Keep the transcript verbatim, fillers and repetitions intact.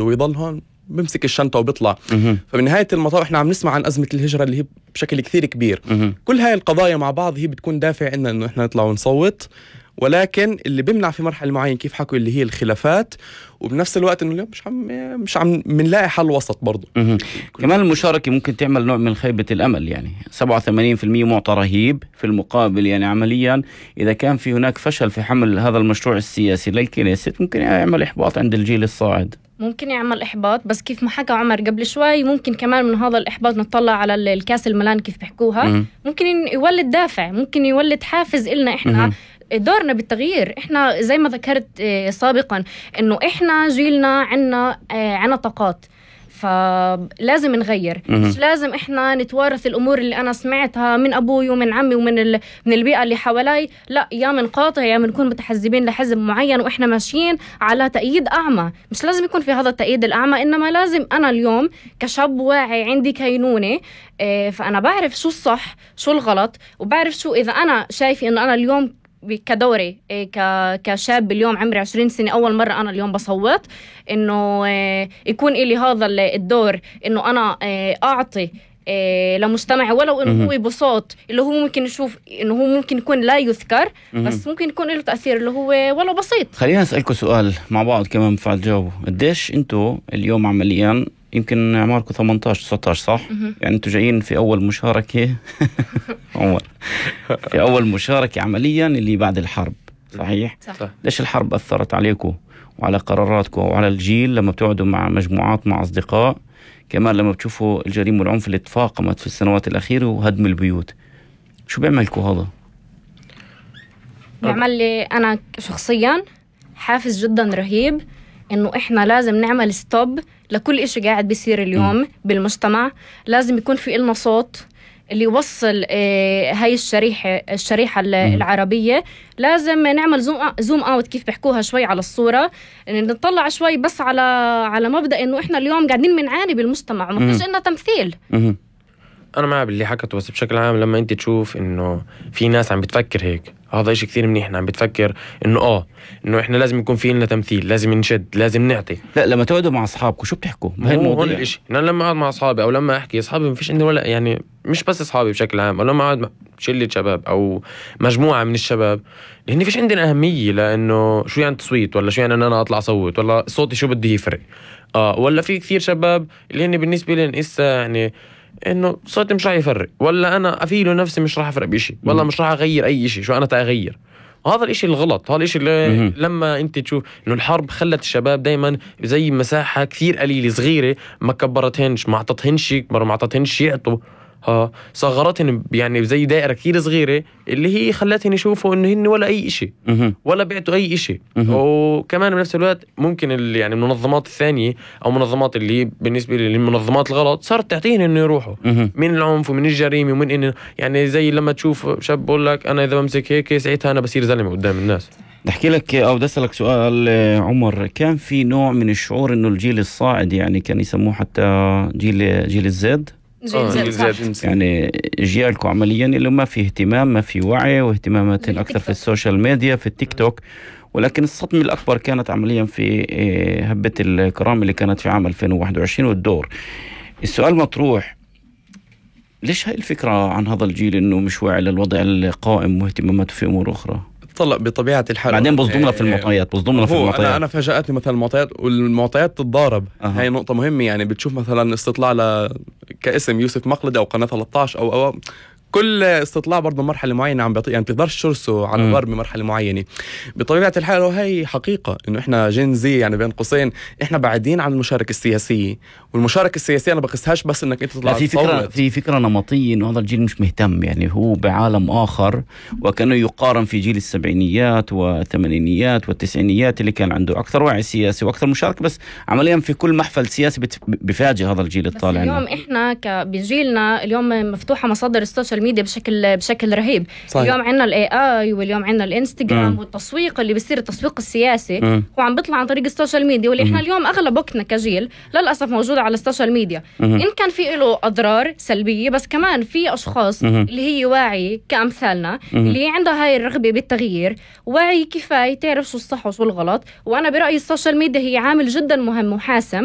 ويضل هون بمسك الشنطة وبيطلع. فبنهاية المطاف احنا عم نسمع عن أزمة الهجرة اللي هي بشكل كثير كبير. كل هاي القضايا مع بعض هي بتكون دافع إننا إنه احنا نطلع ونصوت، ولكن اللي بيمنع في مرحلة معينة كيف حكوا اللي هي الخلافات، وبنفس الوقت إنه اليوم مش عم مش عم منلاقي حل وسط برضو. كمان المشاركة ممكن تعمل نوع من خيبة الأمل، يعني سبعة وثمانين بالمئة معطى رهيب، في المقابل يعني عمليا إذا كان في هناك فشل في حمل هذا المشروع السياسي للكنيسة ممكن يعمل إحباط عند الجيل الصاعد. ممكن يعمل إحباط، بس كيف ما حكى عمر قبل شوي ممكن كمان من هذا الإحباط نطلع على الكاس الملان كيف بيحكوها. م- ممكن يولد دافع، ممكن يولد حافز إلنا إحنا م- دورنا بالتغيير. إحنا زي ما ذكرت سابقا إنه إحنا جيلنا عنا عنا طاقات، فلازم نغير. مش لازم إحنا نتوارث الأمور اللي أنا سمعتها من أبوي ومن عمي ومن ال... من البيئة اللي حوالي. لا، يا منقاطع يا منكون متحزبين لحزب معين وإحنا ماشيين على تأييد أعمى. مش لازم يكون في هذا التأييد الأعمى، إنما لازم أنا اليوم كشاب واعي عندي كينونة، فأنا بعرف شو الصح شو الغلط، وبعرف شو إذا أنا شايفة إنه أنا اليوم كدوري كشاب اليوم عمري عشرين سنة أول مرة أنا اليوم بصوت، إنه يكون إلي هذا الدور إنه أنا أعطي لمجتمع ولو إنه هو بصوت اللي هو ممكن نشوف إنه هو ممكن يكون لا يذكر، بس ممكن يكون له تأثير اللي هو ولو بسيط. خلينا نسألكم سؤال مع بعض كمان بفعل جاوبوا. قديش أنتوا اليوم عمليا يمكن عمركم ثمانية عشر تسعة عشر صح؟ يعني أنتوا جايين في أول مشاركة عمر في أول مشاركة عمليا اللي بعد الحرب صحيح؟ صح. ليش الحرب أثرت عليكم وعلى قراراتكم وعلى الجيل لما بتقعدوا مع مجموعات مع أصدقاء، كمان لما بتشوفوا الجريمة والعنف اللي تفاقمت في السنوات الأخيرة وهدم البيوت، شو بيعملكم هذا؟ بيعمل لي أنا شخصيا حافز جدا رهيب إنه إحنا لازم نعمل ستوب لكل إشي قاعد بيصير اليوم م. بالمجتمع. لازم يكون في إلنا صوت اللي يوصل آه هاي الشريحة الشريحة م. العربية. لازم نعمل زوم زوم اوت كيف بيحكوها شوي على الصورة، إن نطلع شوي بس على على مبدأ إنه إحنا اليوم قاعدين بنعاني بالمجتمع وما فيش إلنا تمثيل. م. أنا معه باللي حكته، بس بشكل عام لما أنت تشوف إنه في ناس عم بتفكر هيك، هذا إشي كثير منيح. عم بتفكر إنه آه إنه إحنا لازم يكون في لنا تمثيل، لازم نشد، لازم نعطي. لا، لما تقعدوا مع أصحابكم شو بتحكوا بهاي الموضوع؟ هون الإشي أنا لما أقعد مع أصحابي أو لما أحكي أصحابي ما فيش عندي ولا يعني مش بس أصحابي بشكل عام، أو لما أقعد مع شلة شباب أو مجموعة من الشباب، لأن فيش عندنا أهمية لأنه شو يعني تصويت، ولا شو يعني أن أنا أطلع صوت، ولا صوتي شو بدي يفرق. آه ولا في كثير شباب اللي هن بالنسبة لي إسا يعني إنه صوتي مش راح يفرق، ولا أنا أفيله نفسي مش راح أفرق بشي، ولا مش راح أغير أي شيء. شو أنا تأغير؟ هذا الاشي الغلط. هذا الاشي اللي لما انت تشوف انه الحرب خلت الشباب دايما زي مساحة كثير قليلة صغيرة، ما كبرتهنش، ما عطتهنش يكبر، ما عطتهنش يعطوا، ها صغرتهن يعني زي دائرة كثير صغيرة اللي هي خلتهن يشوفوا انه هن ولا اي اشي ولا بيعطوا اي اشي. وكمان بنفس الوقت ممكن اللي يعني المنظمات الثانية او منظمات اللي بالنسبة للمنظمات الغلط صارت تعطيهن انه يروحوا من العنف ومن الجريمة ومن انه يعني زي لما تشوف شاب بقول لك انا اذا بمسك هيك ساعتها انا بصير زلمة قدام الناس. نحكي لك او بدي اسالك سؤال عمر، كان في نوع من الشعور انه الجيل الصاعد يعني كان يسموه حتى جيل جيل الزد جيل زد، يعني جيالكم عمليا اللي ما في اهتمام، ما في وعي، واهتمامات اكثر في السوشيال ميديا في التيك توك. ولكن الصدمة الأكبر كانت عمليا في هبة الكرامة اللي كانت في عام ألفين وواحد وعشرين والدور. السؤال مطروح، ليش هاي الفكرة عن هذا الجيل إنه مش واعي للوضع القائم واهتماماته في أمور أخرى؟ طلع بطبيعة الحال بعدين بصدمنا في المعطيات بصدمنا في المعطيات أنا, أنا فاجأتني مثلا المعطيات، والمعطيات تتضارب. أه. هاي نقطة مهمة. يعني بتشوف مثلا استطلاع ل كاسم يوسف مقلد أو قناة ثلاثة عشر أو, أو كل استطلاع برضه مرحلة معينة عم بيعطي، يعني بتقدرش ترسه على ضرب بمرحلة معينة. بطبيعة الحال وهي حقيقة إنه إحنا جين زي يعني بين قوسين إحنا بعيدين عن المشاركة السياسية. والمشاركة السياسية أنا بقيسهاش بس إنك أنت تطلع في فكرة في فكرة نمطية إنه هذا الجيل مش مهتم، يعني هو بعالم آخر، وكانه يقارن في جيل السبعينيات والثمانينيات والتسعينيات اللي كان عنده أكثر وعي سياسي وأكثر مشاركة، بس عمليا في كل محفل سياسي بفاجئ هذا الجيل الطالع. اليوم إحنا كبجيلنا اليوم مفتوحة مصادر السوشيال ميديا بشكل بشكل رهيب. صحيح. اليوم عندنا الاي اي واليوم عندنا الانستغرام م. والتسويق اللي بيصير التسويق السياسي م. هو عم بيطلع عن طريق السوشيال ميديا، واللي احنا اليوم اغلب وقتنا كجيل للاسف موجوده على السوشيال ميديا. م. ان كان في له اضرار سلبيه، بس كمان في اشخاص م. اللي هي واعي كامثالنا م. اللي عندها هاي الرغبه بالتغيير، واعي كفايه تعرف شو الصح وشو الغلط. وانا برايي السوشيال ميديا هي عامل جدا مهم وحاسم